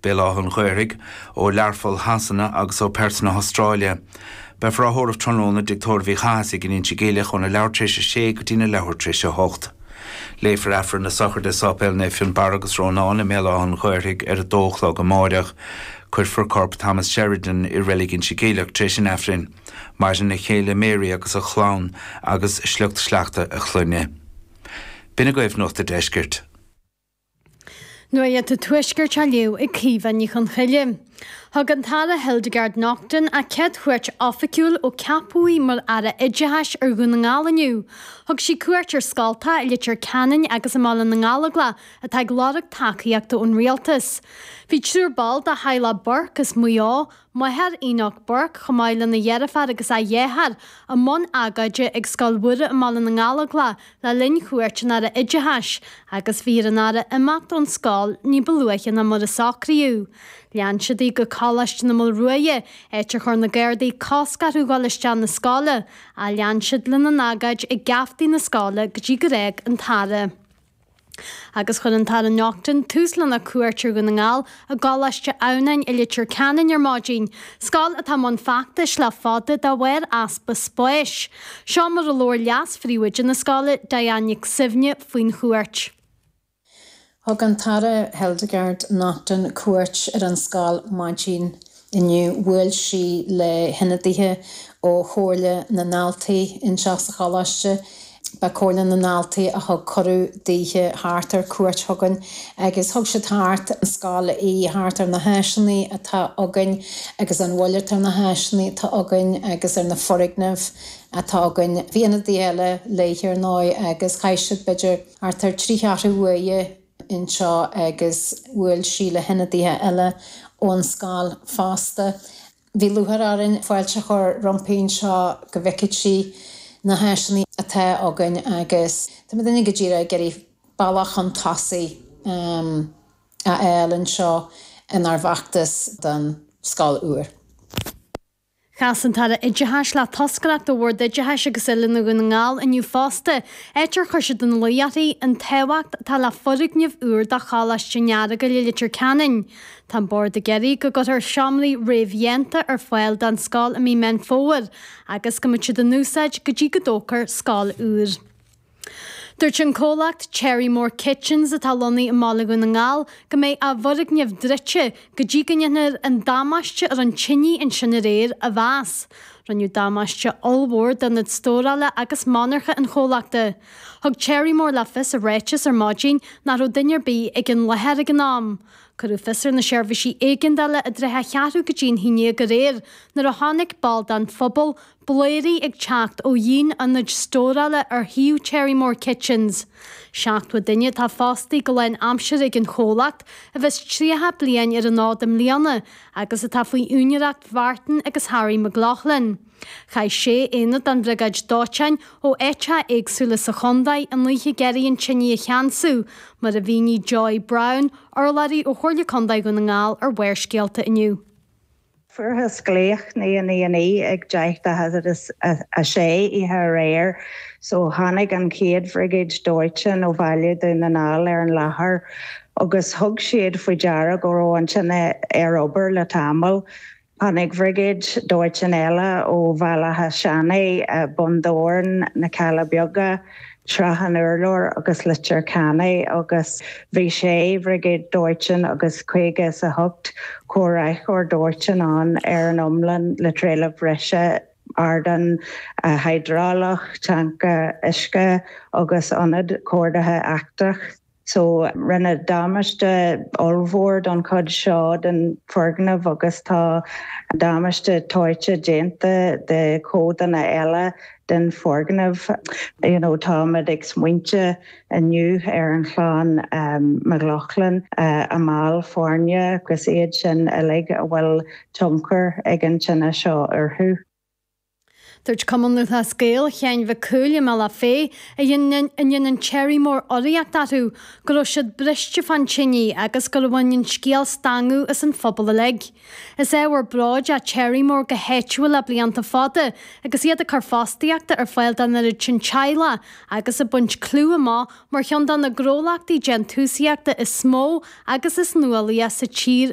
Béal Átha an Ghaorthaidh, ó Learpholl Shasana agus ó Perth na hAstráile. Beifear á thórramh tráthnóna i dTigh Tórraimh Uí Chathasaigh in Inse Geimhleach óna leathuair tar éis a sé go dtína leathuair tar éis a hocht. Léifear Aifreann na sochraide i Sáipéal Naomh Fionnbarra agus Rónán i mBéal Átha an Ghaorthaidh ar a dó a chlog amáireach. Cuirfear corp Thomas Sheridan i Reilig Inse Geimhleach tar éis an Aifrinn. Maireann a chéile Mary agus a chlann agus sliocht sleachta a chlainne. B'in agaibh Nuacht a' Deiscirt. Nuacht an Tuaiscirt á léamh ag Caoimhe Ní Chonchoille. Thug an tAire Hildegarde Naughton a céad chuairt oifigiúil ó ceapadh í mar Aire Oideachais ar Dhún na nGall inniu. Thug sí cuairt ar scoltacha i Leitir Ceanainn agus i mBaile na nGallóglach atá ag lorg tacaíochta ón Rialtas. Bhí triúr ball de theaghlach Burke as Maigh Eo, Máthair Enoch Burke, chomh maith lena dheirfiúr agus a dheartháir, i mbun agóide ag Scoil Mhuire i mBaile na nGallóglach le linn chuairt an Aire Oideachais agus bhí ar an Aire imeacht ón scoil ní ba luaithe ná mar a socraíodh. Lean siad í go Coláiste na Maolruaidhe, áit ar chuir na Gardaí cosc orthu dhul isteach na scoile, ach lean siad lena n-agóid ag geaftaí na scoile go dtí gur fhág an tAire. Agus chuir an tAire Naughton tús lena cuairt ar Dhún na nGall i gColáiste Adhamhnáin i Leitir Ceanainn ar maidin, scoil atá i mbun feachtais le fada de bharr easpa spáis. Seo mar a labhair leas-phríomhoide na scoile, Diane Nic Suibhne, faoin chuairt. Thug an tAire Hildegarde Naughton cuairt ar an scoil maidin inniu. Bhuail sí le hionadaithe ó Chomhairle na nDaltaí anseo sa choláiste. Ba Comhairle na nDaltaí a thug cuireadh daoithe thart ar cuairt chugainn agus thug siad thart an scoil í, thart ar na háiseanna atá againn agus an mhoill atá ar na háiseanna atá againn agus ar na foirgnimh atá againn. Bhí ionadaithe eile léithe ar ndóigh agus chaith siad b'fhéidir thart ar thrí cheathrú uaire anseo agus bhuail sí le hionadaithe eile ón scoil fosta. Bhí lúcháir orainn fáilte a chur roimpi anseo go bhfeicfeadh sí na háiseanna atá againn agus tá muidinne go díreach ag iarraidh bealach chun tosaigh a fháil anseo inár bhfeachtas don scoil úr. Chas an tAire Oideachais le toscaireacht ó Bhord Oideachais agus Oiliúna Dhún na nGall inniu fosta, áit ar chuir siad ina luí uirthi an tábhacht atá le foirgneamh úr do Choláiste an Earagail i Leitir Ceanainn. Tá an Bord ag iarraidh go gcuirfear seomraí réamhdhéanta ar fáil don scoil i mí Meán Fómhair agus go mbeidh siad in úsáid go dtí go dtógfar scoil úr. Dúirt an comhlacht Cherrymore Kitchens atá lonnaithe i mBaile Dhún na nGall go mbeidh a bhfoirgneamh druidte go dtí go ndéanfar an damáiste a rinne tine ansin aréir a mheas. Rinneadh damáiste ollmhór d'ionad stórála agus monarcha an chomhlachta. Thug Cherrymore le fios i ráiteas ar maidin nach raibh duine ar bith ag an láthair ag an am. Cuireadh fios ar na seirbhísí éigeandála i dtrátha a cheathrú go dtí'n haon déag aréir nuair a chonaic ball den phobal blairí ag teacht ó dhíon ionaid stórála ar thaobh Cherrymore Kitchens. 70 duine atá fostaithe go lán-aimseartha ag an chomhlacht, a bheas 30 bliain ar an fhód i mbliana, agus atá faoi úinéireacht Mhartin agus Harry McLaughlin. Chaith sé aonad den bhriogáid dóiteáin ó áiteacha éagsúla sa chontae an oíche ag iarraidh an tine a cheansú, mar a mhínigh Joy Browne, urlabhraí ó Chomhairle Contae Dhún na nGall ar Bharrscéalta inniu. Fuarthas glaoch 999 ag 6:50 oíche aréir so tháinig an chéad bhriogáid dóiteáin ó bhaile Dhún na nGall ar an láthair agus thug siad faoi deara go raibh an tine ar obair le tamall. Tháinig bhriogáid dóiteáin eile ó Bhaile Átha Seanaidh, Bun Dobhráin, Na Cealla Beaga, Srath an Urláir agus Leitir Ceanainn agus bhí sé bhriogáid dóiteáin agus 58 comhraiceoir dóiteáin ann ar an iomlán le trealamh breise, ardán hiodrálach, tanca uisce agus ionad comhordaithe eachtrach. So, rinneadh damáiste ollmhór don chuid seo den foirgneamh agus tá damáiste toite déanta de chodanna eile den foirgneamh. You know, táimid ag smaointe inniu ar an chlann McLaughlin, a mball foirne agus iad sin uilig a bhfuil tionchar ag an tine seo orthu. Dúirt Cumann Lúthchleas Gael Sheáin Mhic Cumhaill i mBealach Féich, a ndéanann Cherrymore urraíocht orthu, go raibh siad briste fán tine agus gur bhain an scéal stangadh as an phobal uilig. Is ábhar bróid é Cherrymore go háitiúil le blianta fada agus iad ag cur fostaíochta ar fáil don oiread sin teaghlach agus ag baint clú amach mar cheann de na gnólachtaí déantúsaíochta is mó agus is nuálaíche sa tír.